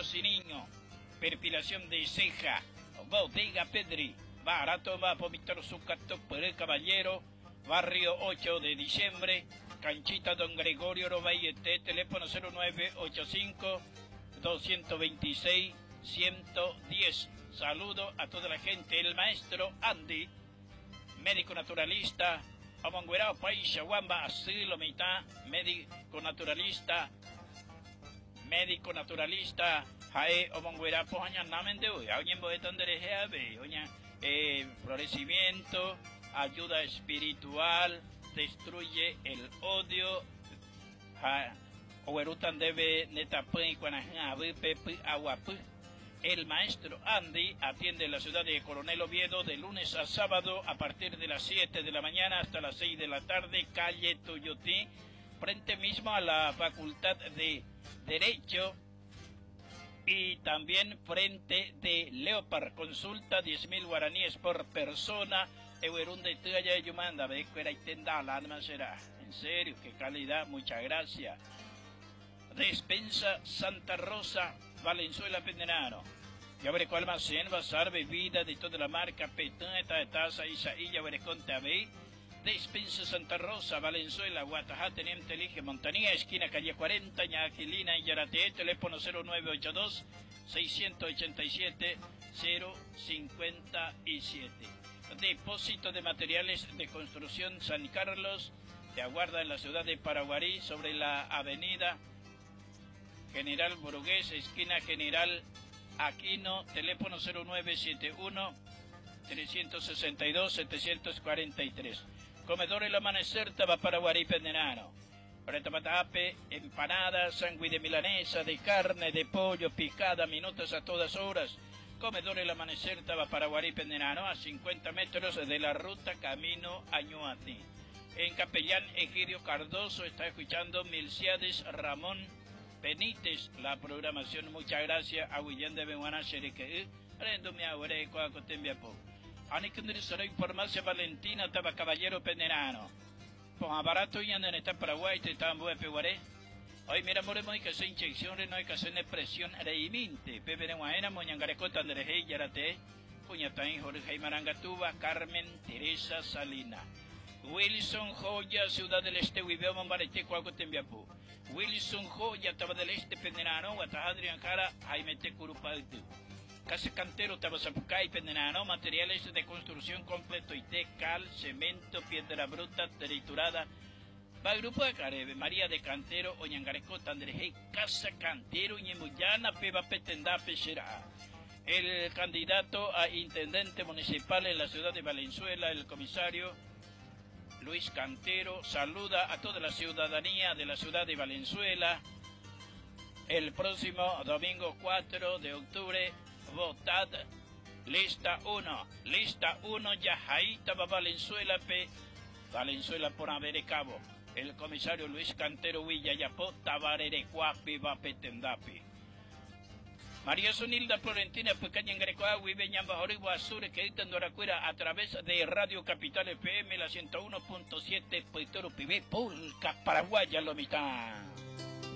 Patrociniño, perfilación de ceja, Bodega Pedri, barato va Víctor Zucato Pérez Caballero, barrio 8 de diciembre, Canchita Don Gregorio Robayete, teléfono 0985 226 110. Saludo a toda la gente, el maestro Andy, médico naturalista, Omonguerao Paisa, Wamba, Asilo, mitad, médico naturalista, médico naturalista, Jae, Omonguerao, Pojaña, Namende, eh, florecimiento, ayuda espiritual, destruye el odio, ja, Oguerutan debe netapy aguapy. El maestro Andy atiende en la ciudad de Coronel Oviedo de lunes a sábado a partir de las 7 de la mañana hasta las 6 de la tarde, calle Tuyutí, frente mismo a la Facultad de Derecho y también frente de Leopard. Consulta 10.000 guaraníes por persona. En serio, qué calidad, muchas gracias. Despensa Santa Rosa, Valenzuela Pendenaro. Ya veré cuál almacén, bazar, bebida de toda la marca, Petón, esta taza, Isaí, ya veré con Despensa Santa Rosa, Valenzuela, Guatajá, Teniente Elige, Montanía, esquina calle 40, Ñaquilina y Yarate, teléfono 0982 687 057. Depósito de materiales de construcción San Carlos, te aguarda en la ciudad de Paraguarí, sobre la avenida General Burgués, esquina General Aquino, teléfono 0971 362 743. Comedor El Amanecer, Paraguarí, Pendenano. Retapatape, empanadas, sándwich de milanesa, de carne, de pollo, picada, minutos a todas horas. Comedor El Amanecer, Paraguarí, Pendenano, a 50 metros de la ruta Camino Añuati. En Capellán, Egidio Cardoso está escuchando Milciades Ramón Benítez, la programación. Muchas gracias a William de Beguana, Xereque, Rendo mi agüere, Coacotembiapo. Anikundri Farmacia Valentina, Taba Caballero Penderano. Pon barato y andan en Paraguay, te tambo peguaré. Hoy mira, moremos hay que hacer inyección, no hay que hacer presión reiminte. Pepe de Guaena, Moñangarecota, Andrés Yarate, Puñataín, Jorge Marangatuba, Carmen Teresa Salina. Wilson Joya, Ciudad del Este, Huibeo, Mombarete, Cuacotembiapú. Wilson Joya, Taba del Este, Pendenano, Guataja, Adrián Jara, Jaime T. Curupaltu. Casa Cantero, Tabazapucay, Pendenano, materiales de construcción completo, IT, cal, cemento, piedra bruta, triturada. Va grupo de Carebe, María de Cantero, Oñangarecota, Andrejey, Casa Cantero, Ñemuyana, Peba Petendape, será. El candidato a intendente municipal en la ciudad de Valenzuela, el comisario Luis Cantero, saluda a toda la ciudadanía de la ciudad de Valenzuela. El próximo domingo 4 de octubre, votad lista 1, lista 1, Yajaita va Valenzuela P, Valenzuela por Cabo. El comisario Luis Cantero Villayapó, Tabarerecuapi, Vapetendapi. María Sonilda Florentina Pecaña Grecoagui, Beñamba Azure, que Doracuera a través de Radio Capital FM, la 101.7, Puerto Pibe, Pulca, Paraguaya, lo mitad.